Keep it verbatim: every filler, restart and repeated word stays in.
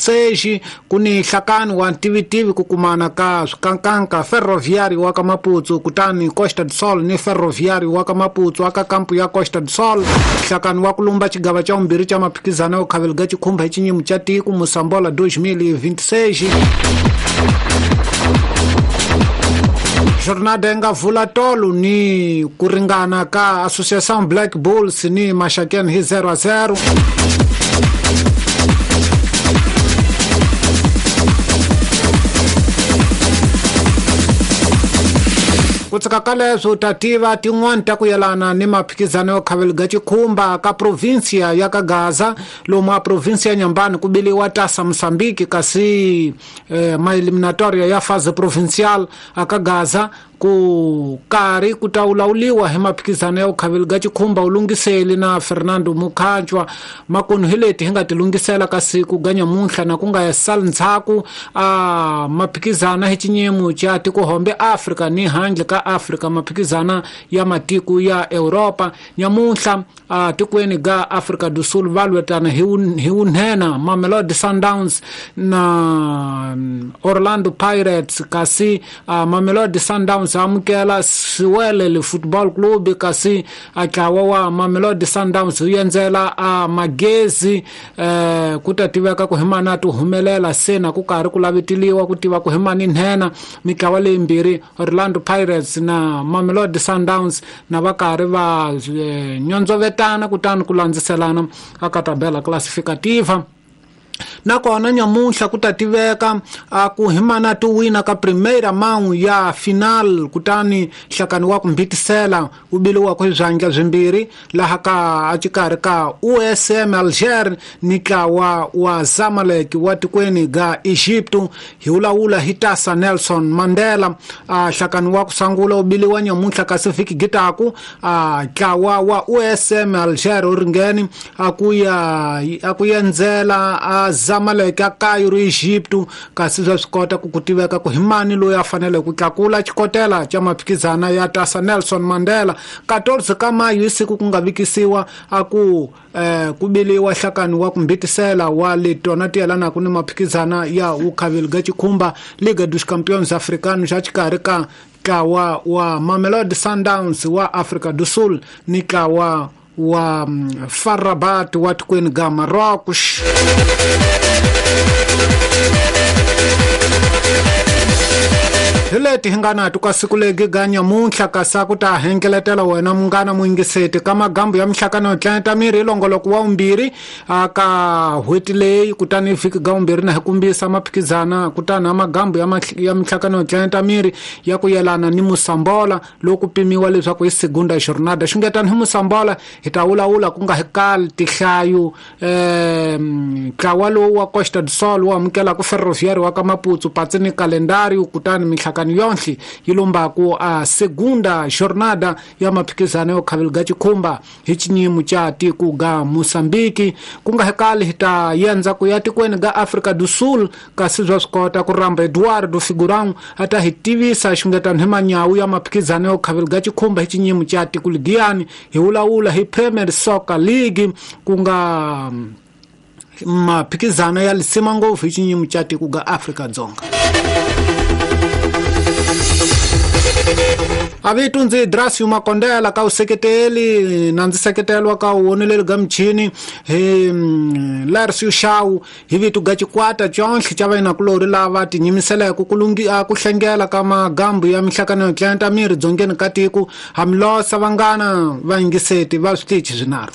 vinte e seis ku ni nhlakani wa ntivitivi ku kumana ka swikankanka Ferroviário wa ka Maputo kutani Costa do Sol ni Ferroviário wa ka Maputo aka kampu ya Costa do Sol nhlakani wa ku lumba xigava xa vumbirhi xa maphikizano yo khaveliga xikhumba hi xinyimu xa tiko Mosambola dois mil e vinte e seis. Jornada yi nga vula tolo ni ku ringana ka Associação Black Bulls ni Maxakeni hi zero a zero. Ku tsaka ka leswo ta tiva tin'wani ta ku yelana ni maphikizano yo khaveliga xikhumba ka provinsia ya ka Gaza lomu a provinsia ya Nyambani ku biliwa Taça Moçambique kasi eh, maeliminatoria ya fase provincial aka Gaza ku karhi ku ta wulawuliwa hi maphikizano ya khaveliga xikhumba u lunghiseli na Fernando Mukhanjwa makunu hi leti hi nga ti lunghisela ka siku ga nyamuntlha na ku nga sali ndzhaku a maphikizana hi xinyimu xa tikohombe Afrika ni handle ka Afrika maphikizana ya matiko ya Europa nyamuntlha a tikweni ga Afrika do Sul va lwetana hi hi wunhena Mamelodi Sundowns na Orlando Pirates kasi a Mamelodi Sundowns amukela Siwelele Football Club kasi a ntlawa wa Mamelodi Sundowns wu endzela a Magezi eh, ku ta tiveka ku hi mani a ti humelela se na ku karhi ku laveteliwa ku tiva ku hi mani nhenha mitlawa leyimbirhi Orlando Pirates na Mamelodi Sundowns na va karhi va eh, nyondzovetana kutani ku landziselana aka tabela classificativa. Nakona nyamuntlha ku ta tiveka a ku hi mani a ti wina ka primeira mão ya final kutani nhlakani wa ku mbitisela wu biliwaka hi swandla swimbirhi laha ka a xikarhi ka U S M Alger ni ntlawa wa Zamalek wa tikweni ga Egypto hi wulawula hi Taça Nelson Mandela. A nhlakani wa ku sungula wu biliwa nyamuntlha kasi vhiki gitaku a ntlawa wa U S M Alger wu ringeni a ku ya a ku endzela a Zamalek a Cairo Egypto kasi swa swi kota ku ku tiveka ku hi mani loyi a fanele ku tlakula xikotela xa maphikizana ya Taça Nelson Mandela. quatorze ka mayu hi siku ku nga vikisiwa a ku eh, ku biliwa nhlakani wa ku mbitisela wa letona ti yelanaka ni maphikizana ya wukhaveliga xikhumba Liga dos Campeões Africanos xa xikarhi ka ntlawa wa Mamelodi Sundowns wa Afrika do Sul ni ntlawa wa F A R Rabat wa tikweni ga Marrocos. Hi leti hi nga na to ka siku legi ga nyamuntlha kasi a ku ta hengeletela wena munghana muyingiseti ka magambu ya mihlakano yo tlenta miri hi longoloko wa vumbirhi a ka n'hweti leyi kutani vhiki ga vumbirhi na hi kumbisa maphikizana kutani a magambu ya ya mihlakano yo tlenta miri ya ku yelana ni Mosambola loku pimiwa leswaku hi segunda jornada xungetani hi Mosambola hi ta wulawula ku nga hi kali tihlayo eh ntlawa lowu wa Costa do Sol wu amukelaka Ferroviário wa ka Maputo patsi ni calendário kutani mihlakano yonhle yi lombaku a segunda jornada ya maphikizano yo khaveliga xikhumba hi xinyimu xa tiko ga Moçambique ku nga hekali hi ta yendza ku ya tikweni ga Afrika do Sul kasi bya swi kota ku rhamba Eduardo Figurão a ta hi tivisa xungetano hi manyawu ya maphikizano yo khaveliga xikhumba hi xinyimu xa tiko ligiyani hi wulawula hi Premier Soccer League ku nga maphikizano ya lisima ngopfu hi xinyimu xa tiko ga Afrika Dzonga. Avitu ndzi Drasio Makondela ka useketeli na ndzi seketelwa ka woneleli ga michini hi Larsio Shaw hi vitu ga xikwata xonhle xa vayinakulorhi lava tinyimiseleke ku lungi ku hlengela ka magambu ya mihlakano yo tlenta miri dzongeni ka tiko hamilosa vangana vayingiseti va switichi swinharhu.